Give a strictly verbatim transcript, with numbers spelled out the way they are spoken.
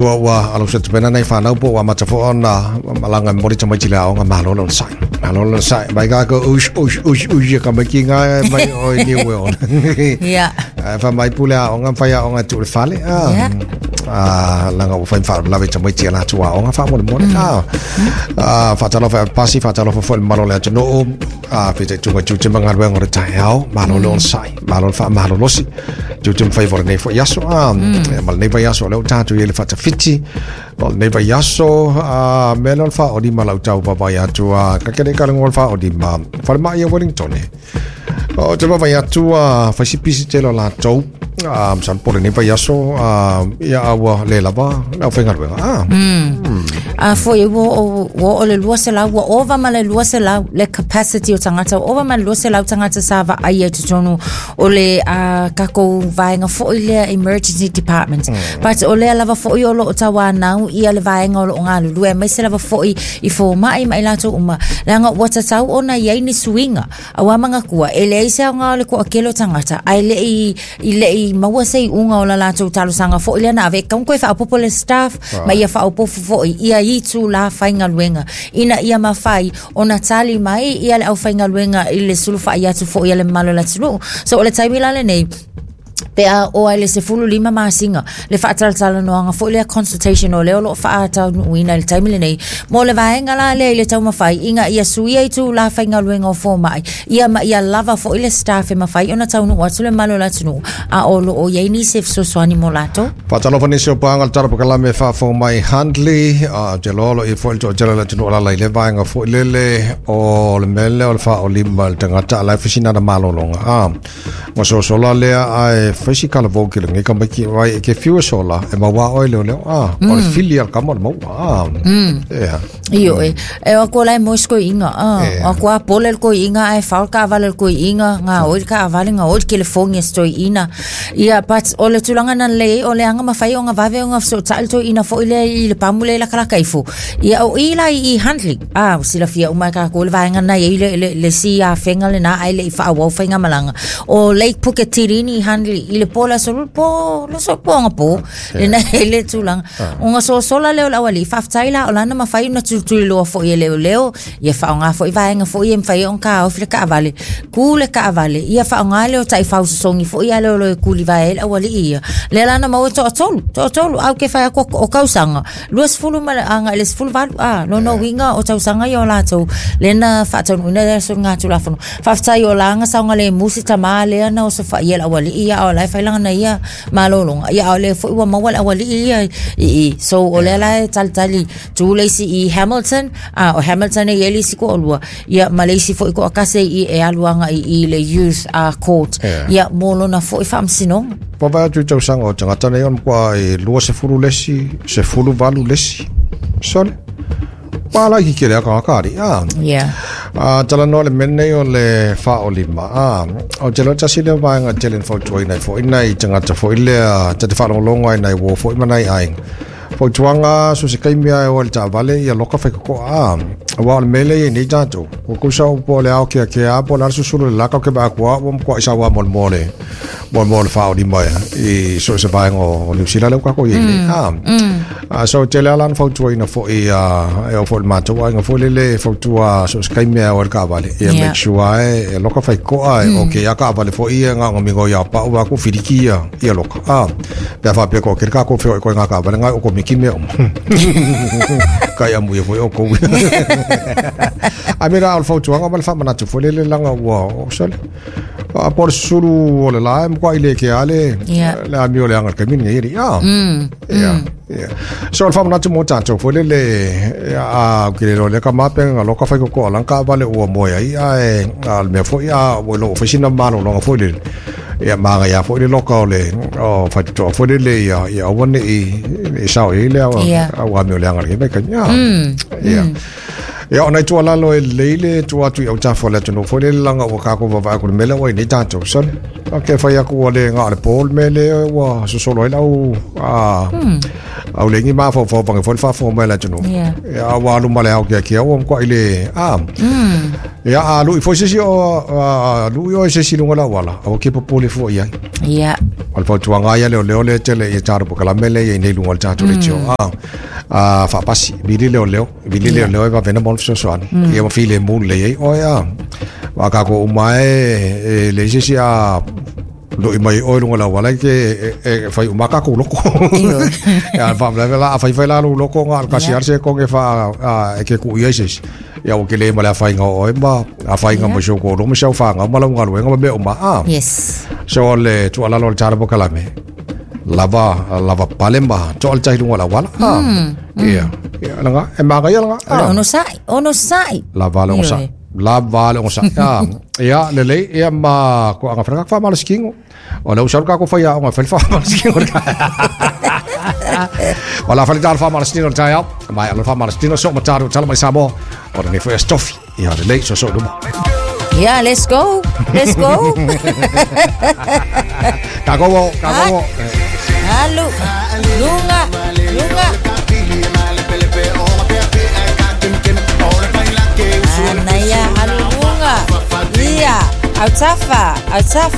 loa ua alo se tupena nei whanau po ua matafo ona malanga mori tamaiti le aonga malo lona sai. Malo lona sai. Mai ka ko ush ush ush ush ka mai ki ngai mai oi ni ue ona. Yeah. Fa mai pule aonga whai aonga tu le fale. Yeah. Ah, langa ua whai wha lawe tamaiti la tu aonga wha mole mole. Ah, ah, whatalofa pasi whatalofa fo le malo le atunuu. Ah, white tunga tu te mangaluenga o le taeao. Malo lona sai. Malo le wha malo losi. Tu te mwhai vore nei fo iaso. Ah, ma le nei vai aso leo tātou i le whatawhiti. O le nei vai aso, ah, me leo le wha o lima lau tau papai atu. Ah, ka kere ka lengo le wha o lima. Whare mai a Wellington e. O te papai atu, ah, whaisipisi te lo lātou. Ah, san pore nei vai aso, ah, ia aua le lava, lau whaingaluenga. Ah. Mm. A foi wo wo o le lua se lau ua ova ma le lua se lau le capacity o tangata ova ma le lua se lau tangata sa va ai e totonu o le a kako vaenga foi lea emergency department. Mm. But o lea lava foi o loo tauanau ia le vaenga o loo galulue mai se lava foi i fomai ma i latou uma leaga ua tatau ona iai ni suiga auā magakua e leai se aoga o le koakele o tagata ae leʻi i leʻi maua se iʻuga o la latou talosaga foʻi lea na ave e kauna koe faaopopo le staff ma ia faaopofo foʻi ia itu la faigaluega ina ia mafai ona tali mai ia le aufaigaluega i le sulufaʻi atu foʻi a le mamalu o le atunuu. So o le taimi la lenei pe a o ai le sefulu lima masiga le faatalatalanoaga foʻi lea consultation o lea o loo faataunuuina i le taimi lenei mo le vaega la lea i le taumafai ina ia suia itu la faigaluega o fomaʻi ia ma ia lava foʻi le staff e mafai ona taunuu atu le mamalu o le atunuu a o loo iai nisi e fesoasoani mo latou. Whatalofa nisi o pānga le tara pakalame whaafo mai Handley, a te lolo i fo i tō tele le tunu alala i le vaenga fo i lele o le mele o le wha o lima le tangata ala e whisina na malolonga. Ah, ngā sosola lea ai whaisi kala vōki le ngi ka maiki wai e ke fiu sola e maua oi leo leo. Ah, o le fili al kama le maua. Ah, yeah. Io e e o ko lai mosko inga ah o ko a pole ko inga ai faul ka vale ko inga nga oi ka vale nga oi telefoni sto ina ia but o le tulanga na le o le anga mafai o nga vave o nga so tal to ina fo ile i le pamule la kala kaifo ia o ila i Handley ah sila fia o mai ka ko le vaenga na i le le, le si a fenga le na ai le i fa wa fa nga malanga o Lake Puketirini Handley i le pola so po lo so po nga po le na le tulanga o nga so sola le o la wali fa taila o lana mafai na tu tu lo fo i le leo ia fa nga fo i vaenga fo i mfai on ka o fle ka vale ku le ka vale ia fa nga le o tai fa songi fo ia le lo ku li vae o wali ia le lana mau to tolu to tolu au ke fa ko o kausanga luas fulu ma anga le fulu valu a no no winga o tausanga ia la to le na fa to na le so nga tu la fo fa tai o langa sa nga le musi tama le na o so fa ia la wali ia o la fa langa na ia malolonga ia o le fo ua mau la wali ia i so o le la tal tali tu le si i Hamilton a o Hamilton e eli si ko olua ia Malaysia fo ko akase i e aluanga i i le youth uh, court ia molona fo i famsino. Papa tu tau sanga o tangata nei on kua e lua se fulu lesi, se fulu valu lesi. Sole. Pala ki kele aka akari. Ah. Yeah. Ah, tala no le mene o le fa o lima. Ah, o te lo tasi le vaenga tele fo tuai nei fo inai tangata fo ile te te whalongo ai nei wo fo i manai ai. Fo tuanga so se kaimia e o le tavale ia loka whai koko a. Wa o le mele i nei tātou. Ko kusa o po le ao kia kia po le susulu le laka o ke baa kua o mkua isa wa mole mole. Mole mole wha o lima i so se vaenga o New Zealand leo kako i nei. Ah, so te le alan fautua ina fo i e o fo le mātou ai nga fo lele fautua so se kaimea o le kavale. Ia make sure ai e loka whai koa e o ke ia kavale fo i e ngā ngomingo ia pa ua ku whiriki ia ia loka. Ah, pea whapea ko kere kako whio i koe ngā kavale ngai o ko miki mea o. Kai amu ia foi o kou. Ai mera o le fautuanga ma le whamanatu fo lele langa ua o sole. A por suru o le lae mkwa i le ke ale le ami o le anga kamini ngai iri. Ah. Yeah. Yeah. So le whamanatu mō tātou fo lele a kire ro le ka mapenga loka whai koko alanka vale ua moea i a e a le mea foi a o lo whaisina malo longa fo lele. Ia maga ia fo le loka o le o whaitutoa fo lele ia ia awane i i sao i le a ua ami o le anga le meka. Yeah. Ia ona i tua lalo e leile tua atu i au tafo le atu fo le langa ua kako vavaa ku le mele ua i nei tātou sole. Ke whai aku o le ngā le pōl mele ua sosolo ai lau a au lengi maa fo fo pange fo le whafo mai le atu. Ia ua alu male au kia kia ua mkwa i le a. Ia a lui foi se si o a lui o se si lunga la wala o ke popole fo ia. Ia. O le fautuaga ia leoleo le tele ia tatou polokalame le ia i nei luga o le tatou leitio a a faapasi vili leoleo vili leoleo e vavena mo le fesoasoani ia ma filemu lelei ai oe a a tatou uma e e leai se isi a loi mai oe luga o le auala e ke e fai uma tatou loko. Ia faalavelave la a faifai la lou loko na o le tasi lava le sekone faa e ke tuu i ai se isi ia ua tele ma le afaina o oe ma afaina ma si ou toalua ma si au fanau ma lau galuega ma mea uma a. Yes. So o le tuualalo o le tala polokalame lava lava pale ma toa le tahi luga o le auala a. Ia ia laga e magaia laga O le onosai, onosai. Lava le onosai. Lava le onosai. Ah, ia lelei ia ma ko anga whanaka wha malasikingo. O le usaru kako whai a onga whai wha malasikingo. O la whai tala wha malasikingo tai au. Mai ala wha malasikingo so mataru tala mai Samoa. O le nei stofi. Ia lelei so so luma. Yeah, let's go. Let's go. Kako wo, kako wo. Alu. Lunga. Lunga. Anaya, alu lunga. Ia, autafa, autafa.